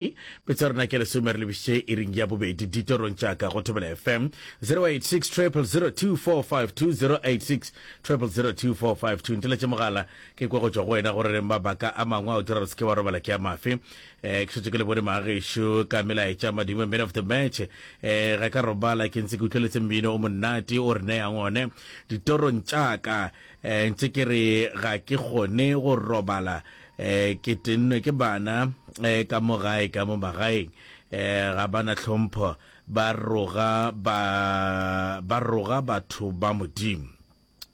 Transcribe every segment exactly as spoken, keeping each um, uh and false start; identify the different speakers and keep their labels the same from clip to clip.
Speaker 1: Metsotso ya rena ke lesome re lebišitše iring ya bobedi ditorong tša ka go Thobela F M zero eight six triple zero two four five two, zero eight six triple zero two four five two. Nteletše mogala ke kwa go tšwa go wena gore mabaka a mangwe a o dira gore se ke wa robala ke a mafe. um ke šetše ke le bone magešo ka melaetša. Madimo, man of the match, um ga ka robala ke ntse ke utlweletse mmino o monate o re neyang one ditorong tša ka. um ntse ke re ga ke kgone go robala, um ke tennwe ke bana um ka mo gae, ka mo magaeng um ga bana tlhompho, ba roga ba ba roga batho ba Modimo.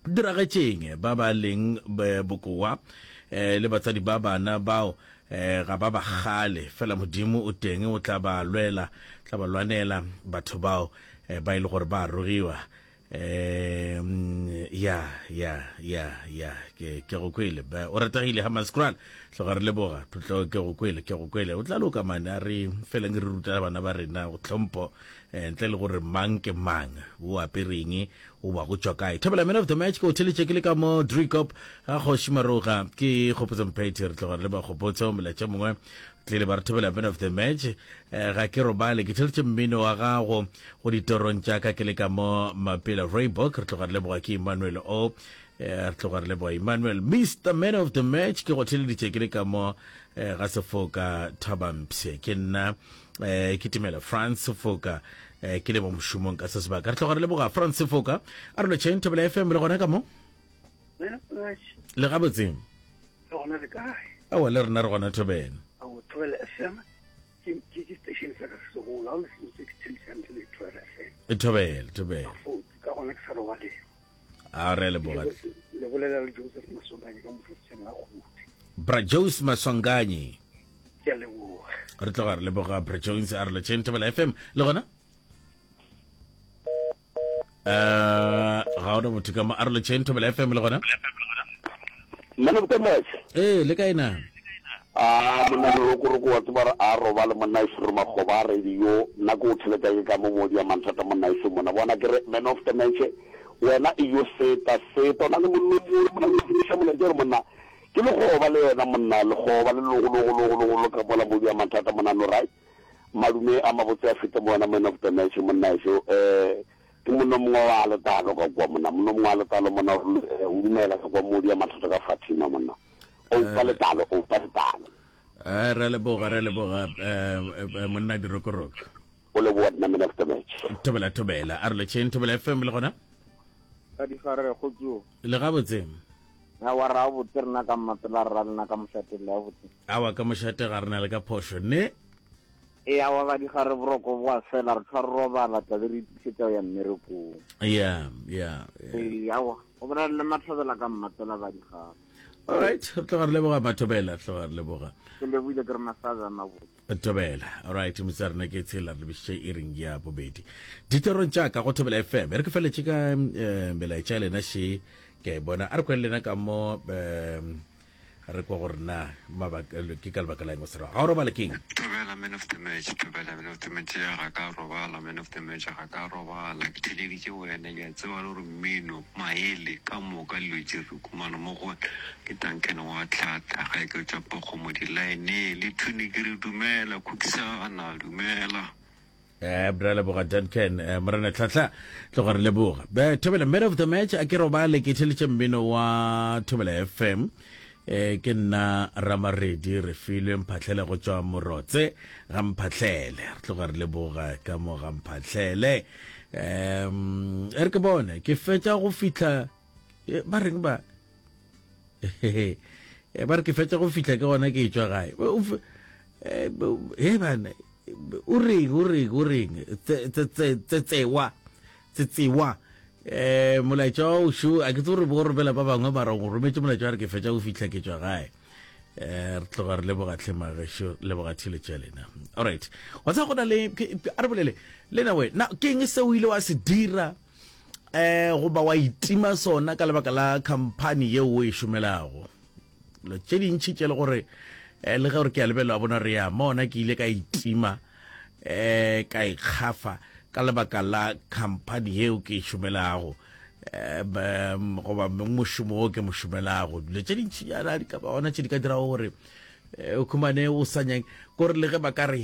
Speaker 1: Diragetšeng ba ba leng bokoa um le batsadi ba bana bao um ga ba ba gale fela. Modimo o teng, o tla ba lwela, tla ba lwanela batho bao um ba e le gore ba rogiwa. um ya ya ya ya ke ke go kwele. O ratagile Hammanskraal, tloga re leboga. Tlo ke go kwele, ke go kwele. O tla loka mane. A re feleng re ruta bana ba rena go tlhompho, eh, ntle le gore mang ke mang, o apereng, o ba go tšwa kae. Thobela, man of the match, ke o theletše ke le ka mo Driekop ga Kgoši Maroga, ke Kgopotso Mphethe. Re tloga re le ba Kgopotso. Molaetša mongwe tlile ba re, thobela man of the match, eh, ga ke robale ke theletše mmino wa gago go ditorong tša ka ke le ka mo Mapela Raybok. Re tloga re leboga, ke Emmanuel o. eh, re tloga re leboga Emmanuel. Mister Man of the Match, ke go theleditše ke le ka mo eh, ga Sefoka Thabampshe, ke nna eh, ke timela France Sefoka, eh, ke le mo mošomong ka se sebaka. Re tloga re leboga France Sefoka. A re lotšheng, Thobela F M le gona ka mo. Le gabotseng?
Speaker 2: Le gona, le kae?
Speaker 1: Aowa, le rena re gona, thobela.
Speaker 2: Ao, Thobela F M ke ke ke station sa ka se segolo. Ga o le sengwe se ke thelisang le Thobela F M.
Speaker 1: E thobela, thobela.
Speaker 2: Ka gona ke sa robaleng.
Speaker 1: A re leboga.
Speaker 2: Le bolela le Joseph Maswanganyi ka mofeseng a Kgodi.
Speaker 1: Bra Jose Maswanganyi.
Speaker 2: Ke a leboga.
Speaker 1: Re tloga re leboga, Bra Jones. A re lotšheng, Thobela F M le gona. um ga ona motho ka mo. A re lotšheng, Thobela F M le gona.
Speaker 3: Man of the match.
Speaker 1: Ee, le kae na?
Speaker 3: A monna lerokoroko, wa tseba re a robale monna e re makgoba a radio. Nna ke o theletša ke ka mo modi ya manthata monna e mona bona ke re man of the match wena e yo seta seta o na le mollo monna o fetiša molaetša gore monna ke lekgoba le yena monna lekgoba le logologologologolo ka mola modi ya manthata monna no right. Madume a mabotse a fete mo wena, man of the match monna ešo. um ke monna mongwe wa letalo ka kwa monna, monna mongwe wa letalo monna o dumela ka kwa modi ya mathata ka Fatima monna o pa letalo, o pa letalo.
Speaker 1: Eh, re leboga, re leboga, eh, monna dirokoroko.
Speaker 3: O leboga nna, man of the match.
Speaker 1: Thobela, thobela. A re lotšheng, Thobela F M le gona.
Speaker 4: Ka digare go tso.
Speaker 1: Le gabotse?
Speaker 4: Awa, ra botse rena ka mmapela ra lena ka mošate le botse?
Speaker 1: Awa, ka mošate ga rena le ka phošo ne.
Speaker 4: E awa ba digare, boroko bo a fela, re tshwa re robala, tlabe re itukisetsa go ya mmerekong.
Speaker 1: ya ya
Speaker 4: Ee, awa go bolela le Mathobela ka mmapela ba digare.
Speaker 1: Alright, re tloga re leboga, Mathobela, re tloga re leboga.
Speaker 4: Ke leboile, ke re masaja mabotse.
Speaker 1: Thobela. Alright, motse rena ke tshela re lebišitše iring ya bobedi ditorong tša ka go Thobela F M. E re ke feletše ka um melaetša ya lena še ke a e bona. A re kwele lena ka mo, um re kwa gore na mabaka ke ka lebaka la eng o se ga o robale keng.
Speaker 5: Thobela, man of the match. Thobela, man of the match. Ya ga ka robala, man of the match, ga ka robala ke theleditše wena. Ke a tseba le gore mmino maele ka moka dilo tše re khumana mo go ke Duncan wa tlhata ga e ke tšwa pokgomo di-line le thune ke re dumela khukisana dumela.
Speaker 1: eh bra, leboga Duncan. eh, morena Tlhatlha, tloga re leboga. Be thobela, man of the match, a ke robale ke theletše mmino wa Thobela F M. eh ke nna Ramaredi re filwe Mphatlhele go tšwa Morotse ga Mphatlhele. Re tloga re leboga ka mo ga Mphatlhele. um e re ke bone ke fetša go fihla, eh, ba reng ba Eh, ba re ke fetša go fihla ke gona ke tšwa gae. O fe- eh, he bana, o reng, o reng, o reng? Tse- tse- tse- tsetsewa tsetsewa um molaetša wa ošo a ke tse gore bo romela ba bangwe, mara o rometse molaetša wa re ke fetša go fihla ke tšwa gae. um re tloga re leboga tlhemagešo, leboga theletšo ya lena. Alright, wa tseba go na le ke- a re bolele lena we na ke eng se o ile wa se dira eh goba wa itima sona ka lebaka la company yeo o e šomelago? Dilo tše dintšhi tše le gore eh, le ge gore ke a lebelela wa bona re ya mona, ke ile ka itima, eh ka ikgafa ka lebaka la company yeo ke e šomelago, eh ba- goba mošomo wo ke mo šomelago. Dilo tše dintšhinyana di ka ba gona tše di ka dirago gore Eh, o khumane o sa nyake kore le ge ba ka re